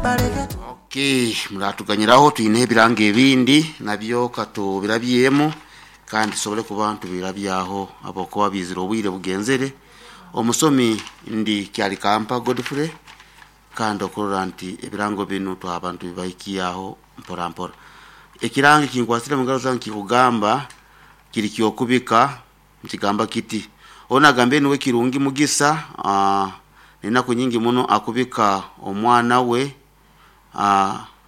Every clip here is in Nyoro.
Okay, muratuganyiraho twine ebirango ebindi nabyo katubirabyemu kandi tusobole kuba ntubirabyaho abakuba bizire obwire bugenzere. Omusomi ndi Kyalikampa Godfrey, kandi okurora nti ebirango binu twaba ntubibahikyaho mpora mpora. Ekirango kinkwasire mungaro zange kikugamba kiri kyokubika, nikigamba kiti ono agambe niwe Kirungi Mugisa, enaku nyingi muno akubika omwana we,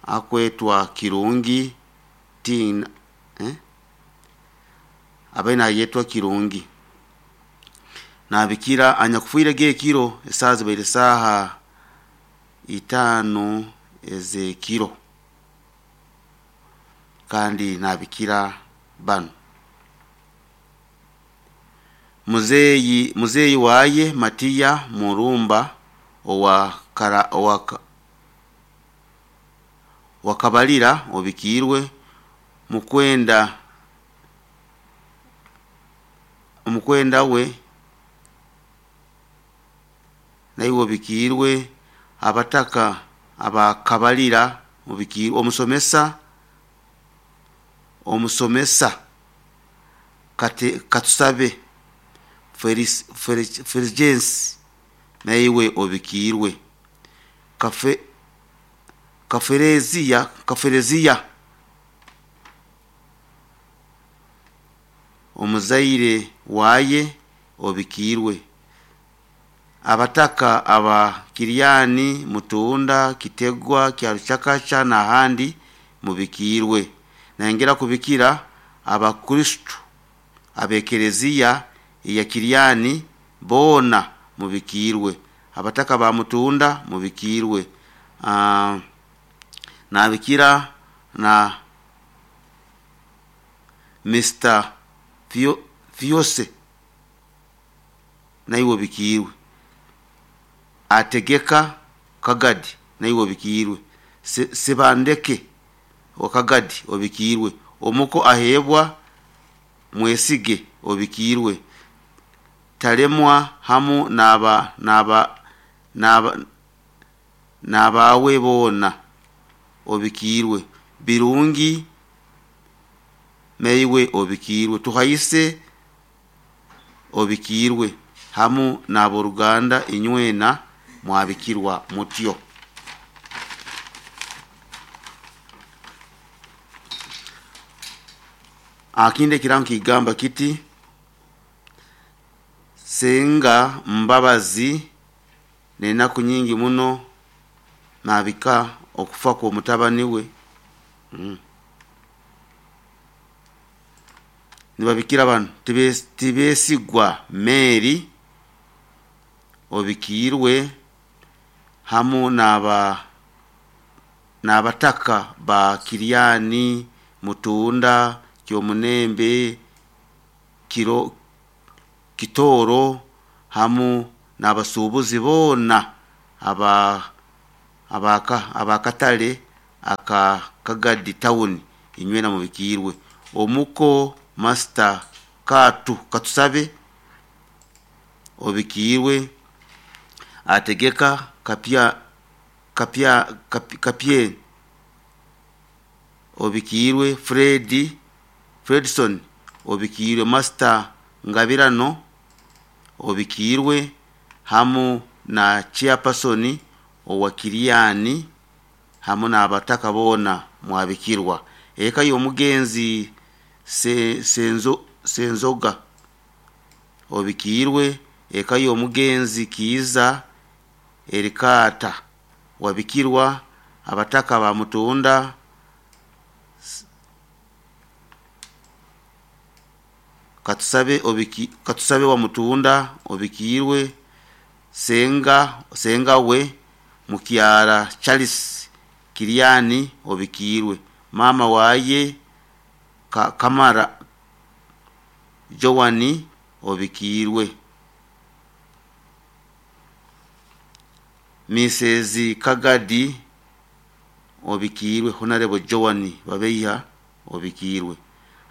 akwetwa Kirungi Tina, eh? Abaye nayetwa Kirungi nabikira anyakufiire gekiro esaaha zibaire saaha 5 ez'ekiro, kandi nabikira banu muzeeyi waye Matiya Murumba owa Kabalira obikiirwe mukwenda we naiwe obikiirwe abataka abakabalira obikiirwe omusomesa katusabe Fulgence naiwe obikiirwe Kafereziya omuzaire waye obikiirwe abataka aba Kiryani, Mutunda, Kitegwa, Kyaruchakacha n'ahandi mubikiirwe. Nayongera kubikira abakristu abekereziya eya Kiryani boona mubikiirwe, abataka ba Mutunda mubikiirwe, nabikira na Mr. Fiose naiwe obikiirwe, Ategeka Kagadi naiwe obikiirwe, Sebandeke Kagadi obikiirwe, Omuko Ahebwa Mwesige obikiirwe, Talemwa hamu n'abawe boona obikiirwe, Birungi naiwe obikiirwe, Tuhaise obikiirwe hamu n'aboruganda inywena mwabikirwa mutyo. Akindi ekirango kigamba kiti Senga Mbabazi n'enaku nyingi muno nabika okufa kw'omutabani we. Nibabikira banu Tibesigwa Mary obikiirwe hamu n'abataka ba Kiryani, Mutunda, Kyomunembe, Kitooro hamu n'abasuubuzi boona abakatale aka Kagadi Town inywena mubikiirwe. Omuko Master Katusabe obikiirwe, Ategeka Kapye obikiirwe, Fredson obikiirwe, Master Ngabirano obikiirwe hamu na chairperson owa Kiryani hamu n'abataka boona mwabikirwa. Eka y'omugenzi Senzoga obikiirwe, eka y'omugenzi Kiiza Erikaata wabikirwa, abataka ba Mutunda Katusabe wa Mutunda obikiirwe, Senga we Mukyara Charles Kiryani obikiirwe, mama waye Kamara Joan obikiirwe, Mrs. Kagadi obikiirwe, Honorable Joan Babeiha obikiirwe,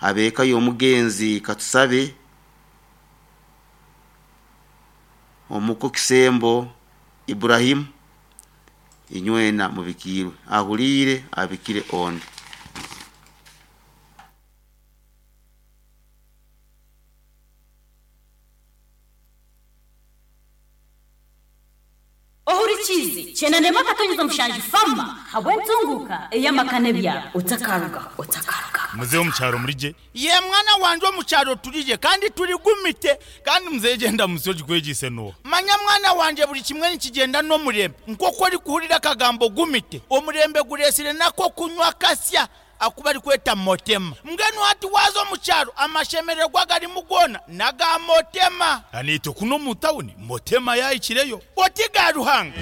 abeka y'omugenzi Katusabe Omuko Kisembo Ibrahim Inywena mubikiirwe. Ahuliire abikire ondi. Ohurikiize kyenda akatonyeza mushanju fama habw'entunguka ey'amaka n'ebyaro otakaruga otakaruga. Muzehe omukyaro murigye. Ye mwana wanje omukyaro turigye kandi turigumite. Kandi muzehe gyenda munsi ogikwegyise noha? Manya mwana wanje buri kimwe nikigyenda n'omurembe. Nk'oku orikuhurira akagambo gumite, omurembe gureetsire n'ak'okunywa akasya aku barikweta motema. Mbwenu hati waaza omu kyaro amashemererwa agarimu goona n'aga motema. Naitwe kunu omu tawuni motema yaahikireyo. Oti ga Ruhanga.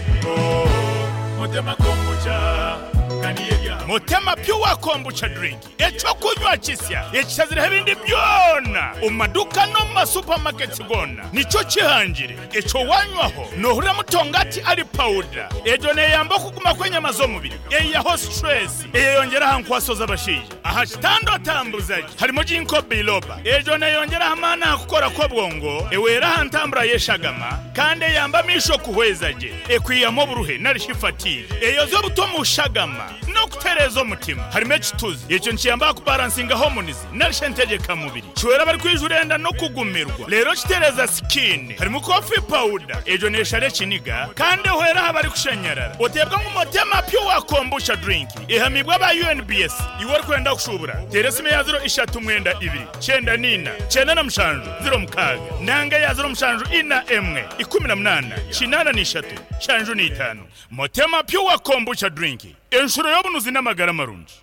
Motema Pure Kombucha Drink, eky'okunywa kisya ekishazireho ebindi byona omu maduuka n'omu ma supermarkets goona nikyo kihangire. Ekyo wanywaho nohurira mutongati ari pawuda. Egyo neyamba okuguma kw'enyama z'omubiri, eyihaho stress, eyeyongyera aha nkwaso z'abashaija. Aha kitanda otambuza gye. Harimu Ginkgo biloba. Egyo neyongyera aha maani aha kukora kw'obwongo, ehwera aha ntambura y'eshagama kandi eyamba amaisho kuhweza gye. Ekwihamu oburuhe nari shi fatigue. Eyozya obutwa omu shagama n'okutereeza omutima. Harimu ekituzi. Ekyo nikiyamba aha kubaransinga hormones nari shi entegyeka mubiri. Kihwera abarikwijura enda n'okugumirwa reero kitereeza sikiini. Harimu coffee powder, egyo neeshara ekiniga kandi ehwera aha barikushanyarara. Oteebwa ngu Motema Pure Kombucha Drink ehamiibwe aba UNBS. Iwe orikwenda kushuubura, teera esimu eya ziro ishatu mwenda ibiri, kyenda n'ina, kyenda na mushanju, ziro mukaaga nanga eya ziro mushanju ina emwe, ikumi na munaana, kinaana n'ishatu, nshanju n'itaano. Motema Pure Kombucha Drink, enshuro y'obunuzi n'amagara marungi.